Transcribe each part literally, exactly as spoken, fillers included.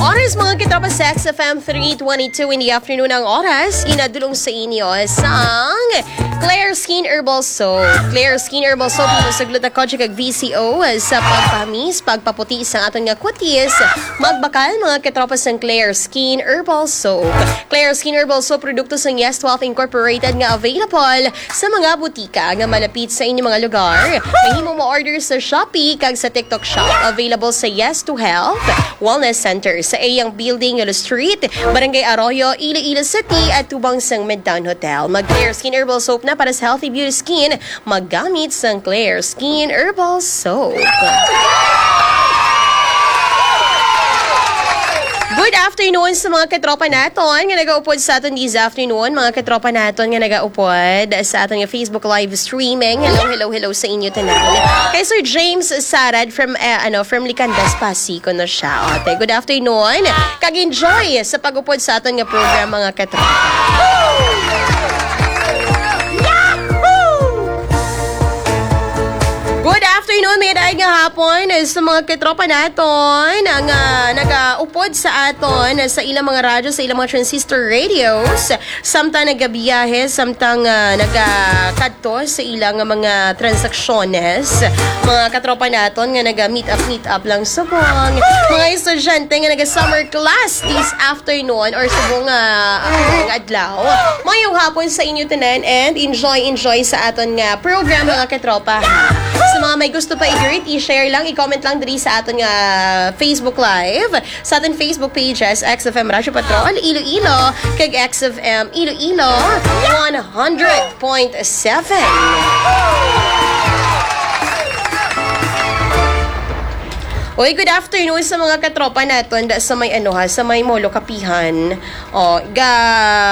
Oras, mga katropa, sa X F M, three twenty-two in the afternoon ang oras. Ginadulong sa inyo sang Claire Skin Herbal Soap. Claire Skin Herbal Soap, imo sa gluta, kojic kag V C O sa pagpahamis, pagpaputi sa aton nga kutis. Magbakal, mga katropa, sang Claire Skin Herbal Soap. Claire Skin Herbal Soap, produkto sang Yes Twelve Incorporated nga available sa mga butika nga malapit sa inyong mga lugar. Mahimo mo-order sa Shopee kag sa TikTok Shop. Available sa Yes to Health Wellness Center sa Eyang Building, Yolo Street, Barangay Arroyo, Iloilo City, at tubang sang Midtown Hotel. Mag Claire Skin Herbal Soap na para sa healthy beauty skin. Maggamit sang Claire Skin Herbal Soap. Good afternoon sa mga katropa naton nga nagaupod sa aton this afternoon, mga katropa naton nga nagaupod sa aton nga Facebook live streaming. Hello, hello, hello sa inyo tanan. Kay Sir James Sarad from, eh, ano, from Licandas, Pasig kuno siya. Ote, good afternoon. Kag enjoy sa pag-upod sa aton nga program, mga katropa. Good afternoon, may daig nga hapon sa mga katropa naton nga nagaupod sa aton sa ilang mga radyo, sa ilang mga transistor radios, samtang nagabiyahe, samtang, ah, nagakadto sa ilang mga transaksyones. Mga katropa naton nga naga-meet up, meet up lang subong. Mga estudyante nga naga-summer class this afternoon or subong nga, ah, nga adlaw. Mayong hapon sa inyo tanan and enjoy, enjoy sa aton nga program, mga katropa, ha. Sa mga may gusto pa i-greet, i-share lang, i-comment lang diri sa aton nga Facebook Live, sa aton Facebook pages, X F M Radyo Patrol Iloilo, kag X F M Iloilo one hundred point seven. Oy, good afternoon sa mga katropa naton da sa may, ano, ha, sa may Molo Kapihan. O, ga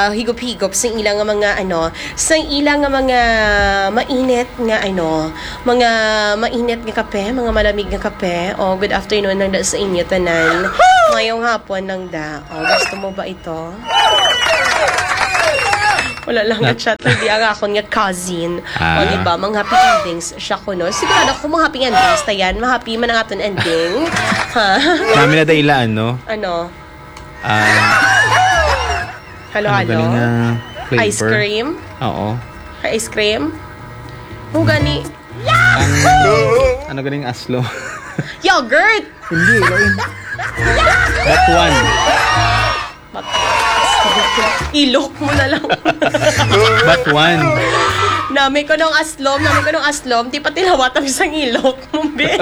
higop-higop sa ilang nga mga, ano, sa ilang nga mga mainit nga, ano, mga mainit nga kape, mga malamig nga kape. O, good afternoon lang da sa inyo tanan. Mayong hapon lang da. O, gusto mo ba ito? Wala lang na-chat lang di ang akon nga cousin. O, Ah. di ba? Mga happy endings siya kuno. Sigurado ako mga happy endings ta yan. Mahappy man ang aton ending. Ha? Nami na da ila, ano? Ano? Ah, Halo-halo? Ano galing nga flavor? Ice cream? Oo. Ay, ice cream? Mo gani. Ang, ano galing aslo? Yogurt! Hindi, lain. But one. Ilok mo na lang. But one. Nami ko nung aslom, nami ko nung aslom, di pa tilawatan sa ilok mo, be.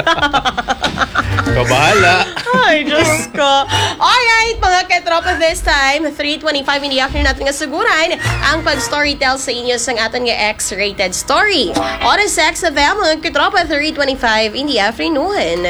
Kabahala. Ay, Diyos ko. Alright, mga katropa, this time, three twenty-five in the afternoon natin nga suguran ang pag-storytell sa inyo sang aton nga X-rated story. Oras sa X F M, mga katropa, three twenty-five in the afternoon.